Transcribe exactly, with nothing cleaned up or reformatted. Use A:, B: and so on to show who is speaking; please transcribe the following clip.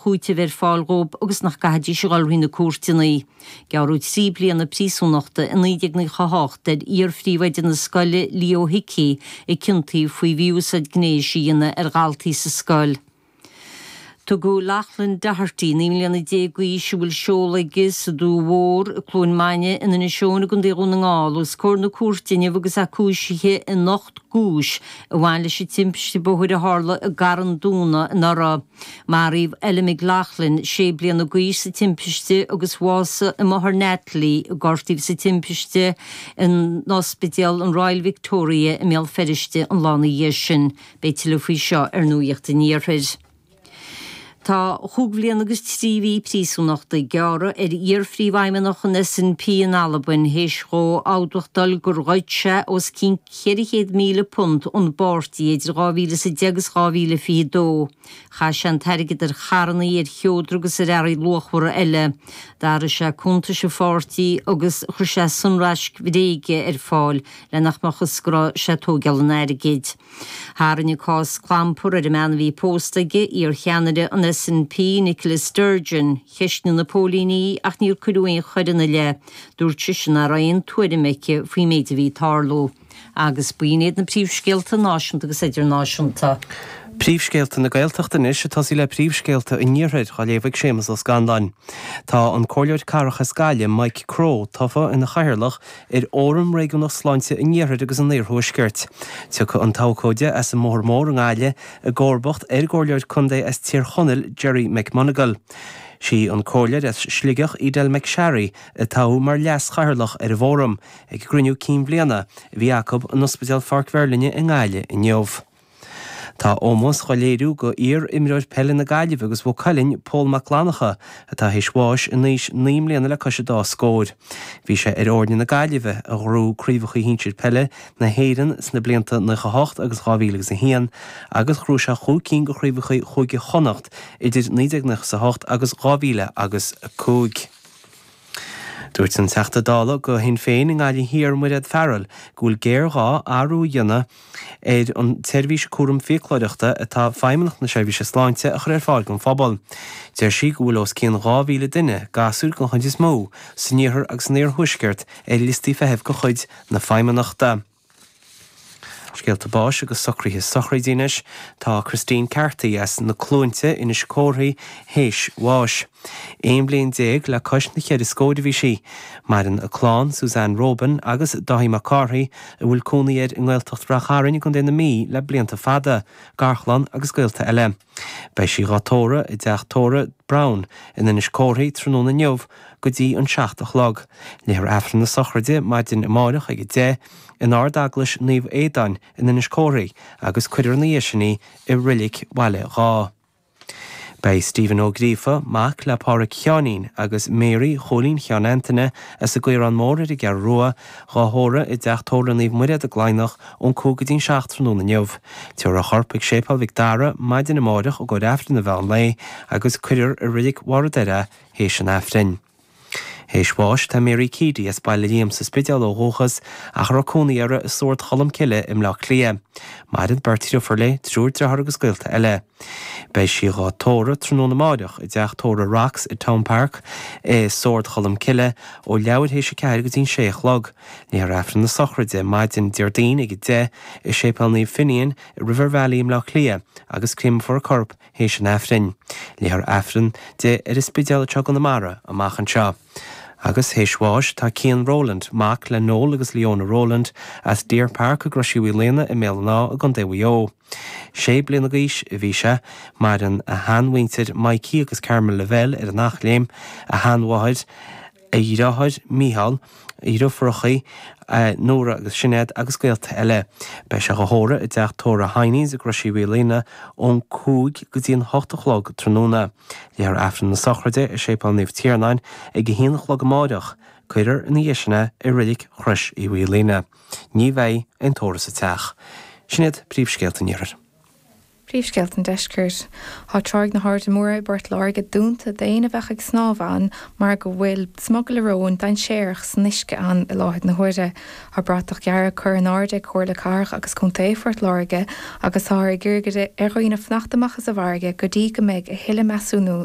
A: chúiteamh ar fáil dhóibh agus nach gcaithfidís a dhul thrí na cúirteanna. Gearradh trí bliana príosúnachta i naoi déag nócha a hocht ar iar-phríomhoide na scoile Leo Hickey a ciontaíodh faoi mhí-úsáid gnéis a dhéanamh ar dhaltaí sa scoil. Tugadh Loughlin Doherty, naoi mbliana déag d'aois, a bhfuil seoladh aige sa Dumha Mhór i Cluain Maine in Inis Eoghain i gContae Dhún na nGall, os comhair na cúirte inniu agus é cúisithe in ocht gcúis a bhain leis an timpiste bóthair a tharla i gCarn Dúna anuraidh. Maraíodh Ella McLaughlin, sé bliana d'aois, sa timpiste agus bhásaigh a máthair Natalie, a gortaíodh sa timpiste, in Ospidéal an Royal Victoria i mBéal Feirste an lá ina dhiaidh sin. Beidh tuilleadh faoi seo ar Nuacht an Iarthair. Tá chúig bhliain agus trí mhí príosúnachta gearrtha ar iar-phríomhfheidhmeannach an SNP in Albain théis dhó admháil gur ghoid sé os cionn ceithre chéad míle punt ón bpáirtí idir dhá mhíle is a deich agus dhá mhíle fiche dó. Chaith sé an t-airgead ar charranna, ar sheodra agus ar earraí luachmhara eile. D'athraigh sé cuntais an pháirtí agus chuir sé sonraisc bhréige ar fáil le nach mbeadh fhios go raibh sé ag tógáil an airgid. Tharraing an cás clampar ar an mbean a bhí pósta aige, iar-cheannaire an SNP Nicola Sturgeon. Cheistigh na póilíní í ach níor cuireadh aon choir ina leith. Dúirt sise nach raibh aon tuairim aici faoin méid a bhí ag tarlú. Agus b'in iad na príomhscéalta náisiúnta agus idirnáisiúnta.
B: Príomhscéalta na Gaeltachta anois ag tosaí le príomhscéalta an Iarthair á léamh ag Séamus Ó Scanláin. Tá an Comhairleoir Cathrach as Gaillimh, Mike Crowe, tofa ina chathaoirleach ar Fhóram Réigiúnach Sláinte an Iarthair agus an Iarthuaiscirt. Tiocfaidh an t-abhcóide as an mBóthar Mór i nGaillimh i gcomharbacht ar an gComhairleoir Contae as Tír Chonaill, Gerry McMonagle. Sí an Comhairleoir as Sligeach, Edel McSharry, a toghadh mar leas-chathaoirleach ar an bhfóram ag an gcruinniú cinn bhliana a bhí acu in Ospidéal Pháirc Mheirlinne i nGaillimh inniu. Tá ómós dhá léiriú go iar-imreoir peile na Gaillimhe agus Mhaigh Cuilinn, Pól Mac Fhlannchadha, atá théis bháis in aois naoi mbliana le cois an dá scór. Bhí sé ar fhoirne na Gaillimhe a ghnóthaigh craobhacha shinsir peile na hÉireann sna blianta nócha a hocht agus dhá mhíle agus a haon agus ghnóthaigh sé chúig cinn de chraobhacha Chúige Chonnacht idir naoi déag nócha a hocht agus dhá mhíle agus a cúig. Dúirt an Teachta Dála do Shinn Féin i nGaillimh Thiar, Mairéad Farrell, go bhfuil géarghá athrú a dhéanamh ar an tseirbhís cúram fiaclóireachta atá Feidhmeannacht na Seirbhíse Sláinte a chur ar fáil don phobal. Deir sí go bhfuil os cionn dhá mhíle duine, gasúir den chuid is mó, san iarthar agus san iarthuaisceart ar liostaí feithimh de chuid na Feidhmeannachta. Scéalta báis agus socruithe sochraide anois. Tá Christine Carthy as na Cluainte, Inis Córthaidh, théis bháis. Aon bhliain déag le cois na cheithre scóir a bhí sí. Maireann a clann, Suzanne Robin agus Dáithí Mac Cárthaigh, a bhfuil cónaí air i nGaeltacht Rath Chairn i gContae na Mí le blianta fada, garchlann agus gaolta eile. Beidh sí dhá tórramh i dteach tórraimh Browne in Inis Córthaidh tráthnóna inniu go dtí an seacht a chlog. Léifear Aifreann na sochraide maidin amárach ag a deich in Ard-Eaglais Naomh Aodáin in Inis Córthaidh agus cuirfear ina dhiaidh sin í i Reilig Bhaile Dháith. Beidh Stephen Ó Gríofa, mac le Pádhraic Sheáinín agus Mary Chóilín Sheáin Antaine as an gCaorán Mór ar an gCeathrú Rua, dhá thórramh i dteach tórraimh Naomh Muire i gCladhnach ón cúig go dtí'n seacht tráthnóna inniu. Tabharfar a chorp chuig Séipéal Mhic Dara maidin amárach i gcomhair Aifreann an mheán lae agus cuirfear i Reilig Bharr an Doire é théis an Aifrinn. Théis bháis tá Mary Keady as Baile Liam sa Spidéal ó dhúchas ach a raibh cónaí uirthi i Sord Cholm Cille i mBleá Cliath. Maireann beirt dhriofúr léi, triúr dearthár agus gaolta eile. Beidh sí dhá tórramh tráthnóna amáireach i dteach tórraimh Rocks i Town Park i Sord Cholm Cille ó leathuair théis a ceathair go dtí'n sé a chlog. Léifear Aifreann na sochraide maidin Déardaoin ag a deich i Séipéal Naomh Finian i River Valley i mBleá Cliath agus créamfar a corp théis an Aifrinn. Léifear Aifreann di ar an Spidéal anseo i gConamara amach anseo. Agus théis bháis tá Cian Rowland, mac le Noel agus Leona Rowland, as Deer Park i gCrois Uí Mhaoilíona i mBéal an Átha i gContae Mhaigh Eo. Sé bliana d'aois a bhí sé. Maireann a sheanmhuintir Mikey agus Carmel Lavelle ar an Eachléim, a sheanmháthair, a dheartháir Mícheál, a dhriofúracha Nóra agus Sinéad agus gaolta eile. Beidh sé dhá thórramh i dteach tórraimh Heinies i gCrois Uí Mhaoilíona ón cúig go dtí an hocht a chlog tráthnóna. Léifear Aifreann na sochraide i Séipéal Naomh Tiarnáin ag a haon a chlog amáireach. Cuirfear ina dhiaidh sin é i Reilig Chrois Uí Mhaoilíona. Ní bheidh aon tórramh sa teach. Sin iad príomhscéalta an Iarthair.
C: Príomhscéalta an Deiscirt. Tá Tráigh na hAirde Móire i bPort Láirge dúnta d'éinne a bheadh ag snámh ann mar go bhfuil smugairle róin dainséarach san uisce ann i láthair na huaire. Tá bratach dhearg curtha in airde ag Comhairle Cathrach agus Contae Phort Láirge agus táthar ag iarraidh ar dhaoine fanacht amach as an bhfarraige go dtí go mbeidh a thuilleadh measúnú